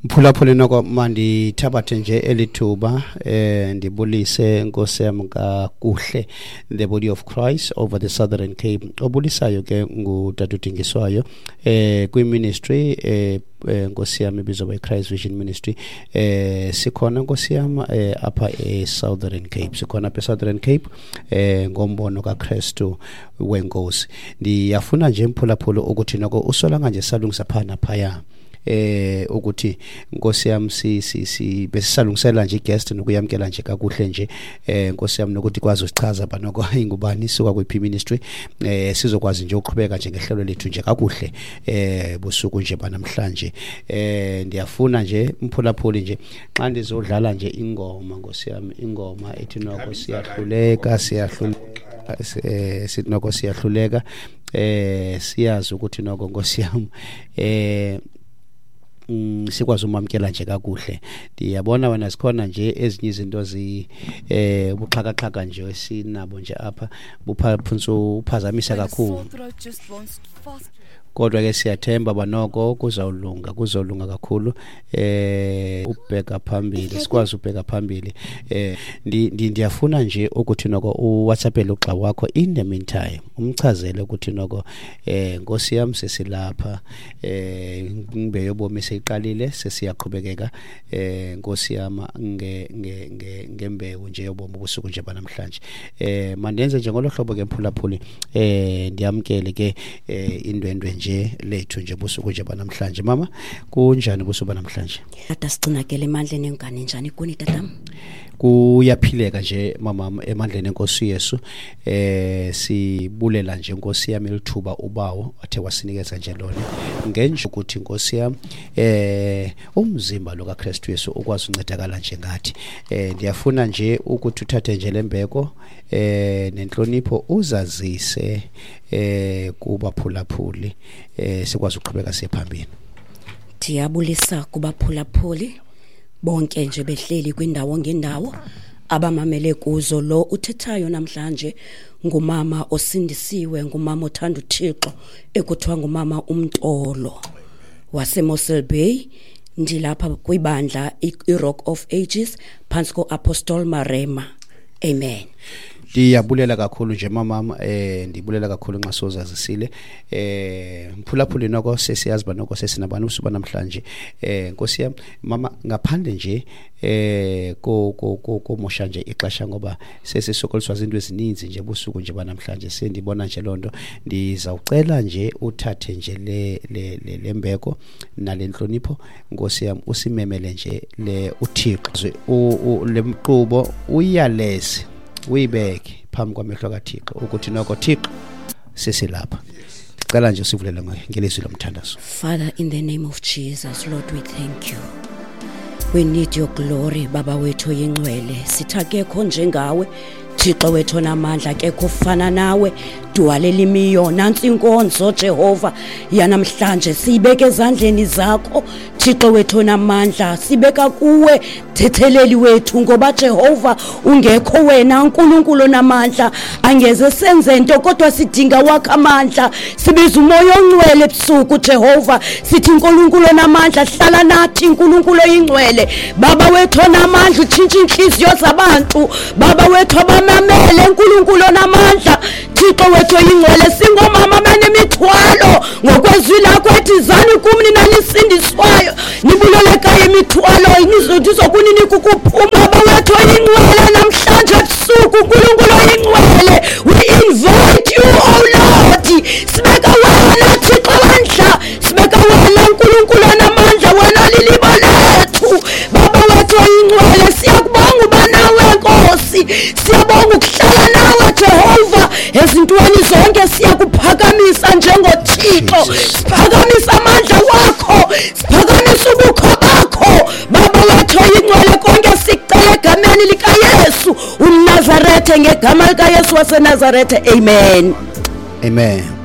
Mphulaphuli, noko mandithabathe nje elithuba ndibulise, Nkosi yam, kakuhle the body of Christ over the Southern Cape. Obulisayo ke ngutata uDingiswayo kwi-ministry Nkosi yam ibizwa by Christ Vision Ministry. Sikhona, Nkosi yam, apha e-Southern Cape, sikhona apha e-Southern Cape ngombono kaKristu wenkosi. Ndiyafuna nje, mphulaphuli, ukuthi noko usolanga nje salungisa phaa naphaya ukuthi, Nkosi yam, si si si besisalungisela nje i-guest nokuyamkela nje kakuhle nje, Nkosi yam, nokuthi kwazi usichaza ba noko ingubani, isuka kwiphi ministry, sizokwazi nje uqhubeka nje ngehlelo lethu nje kakuhle busuku nje banamhlanje. Ndiyafuna nje, mphulaphuli, nje xa ndizodlala nje ingoma, Nkosi yam, ingoma ethi noko siyahluleka, siyahluleka, sithi noko siyahluleka, siyazi ukuthi noko, Nkosi yam, sikwazi umamkela nje kakuhle. Ndiyabona wena zikhona nje ezinye izinto zi ubuxhakaxhaka nje esinabo nje apha bupha uphazamisa kakhulu, kodwa ke siyathemba banoko kuzawulunga, kuzawulunga kakhulu, ubheka phambili, sikwazi ubheka phambili. Ndiyafuna nje ukuthi noko uWhatsAppele ugxa wakho in the meantime, umchazele ukuthi noko, Nkosi yam, sesilapha, imbewu yobomi seyiqalile, sesiyaqhubekeka, Nkosi yam, nge nge nge ngembewu nje yobomi ubusuku nje banamhlanje. Mandenze nje ngolo hlobo ke, mphulaphuli, ndiyamkele ke indwendwe nje lethu nje busuku nje banamhlanje. Mama, kunjani busuku banamhlanje? Tata, sigcinakele emandleni engane. Njani kuni, tatam? Kuyaphileka nje, mama, emandleni enkosi Yesu. Sibulela nje, Nkosi yami, elithuba ubawo athe wasinikeza nje lona ngenje ukuthi, Nkosi yami, umzimba lo kaKristu Yesu ukwazi uncedakala nje ngathi. Ndiyafuna nje ukuthi uthathe nje lembeko nenhlonipho, uzazise kubaphulaphuli, sikwazi ukuqhubeka siye phambili. Ndiyabulisa kubaphulaphuli bonke nje behleli kwindawo ngendawo abamamele kuzo. Lo uthethayo namhlanje ngumama osindisiwe, ngumama othanda uThixo, ekuthiwa ngumama uMtolo waseMossel Bay. Ndilapha kwibandla iRock of Ages phantsi ko-Apostle Marema. Amen. Ndiyabulela kakhulu nje, mamam, ndibulela kakhulu nxa sozazisile. Mphulaphuli, noko sesiyazi uba noko sesinabantu usuba namhlanje. Nkosi yam, mama, ngaphandle nje ko ko ko komosha nje ixesha, ngoba sesisokoliswa zinto ezininzi nje busuku nje banamhlanje, sendibona nje loo nto, ndizawucela nje uthathe nje le lembeko nale nhlonipho, Nkosi yam, usimemele nje le uThixo le mqubo, uyaleze, uyibeke phambi kwamehlo kaThixo ukuthi noko, Thixo, sesilapha. Ndicela nje usivulele ngelizwi lomthandazo. Father, in the name of Jesus, Lord, we thank you. We need your glory, Baba wethu yingcwele. Sithi akekho njengawe, Thixo wethu namandla, akekho ufana nawe. Dwale limiyo, nantsi inkonzo, Jehova, yanamhlanje siyibeke ezandleni zakho, Thixo wethu namandla, sibeka kuwe, thetheleli wethu, ngoba Jehova ungekho wena, uNkulunkulu onamandla, angeze senze nto, kodwa sidinga wakho amandla. Sibiza umoya ongcwele ebusuku, Jehova, sithi uNkulunkulu onamandla, hlala nathi, uNkulunkulu oyingcwele, Baba wethu onamandla, utshintsha inhliziyo zabantu, Baba wethu abamamele, uNkulunkulu onamandla, Thixo wethu oyingcwele. Singomama abanemithwalo, ngokwezwi lakho ethi zani kum nina nisindiswayo, nibulelekayo imithwalo, ndizokuninika ukuphuma. Baba wethu oyingcwele, namhlanje ebusuku, uNkulunkulu oyingcwele, we invite you, oh Lord. Sibeka wena, Thixo wandla, sibeka wena, uNkulunkulu onamandla, wena lilibo lethu, Baba wethu oyingcwele. Siyakubonga uba nawe, Nkosi, siyabonga ukuhlala nawe, Jehova, ezintweni zonke. Siyakuphakamisa njengoThixo, siphakamisa amandla wakho, siphakamisa ubukho bakho, Baba wethu oyingcwele. Konke sikucela egameni likaYesu umNazarethe, ngegama likaYesu waseNazarethe, amen. Amen.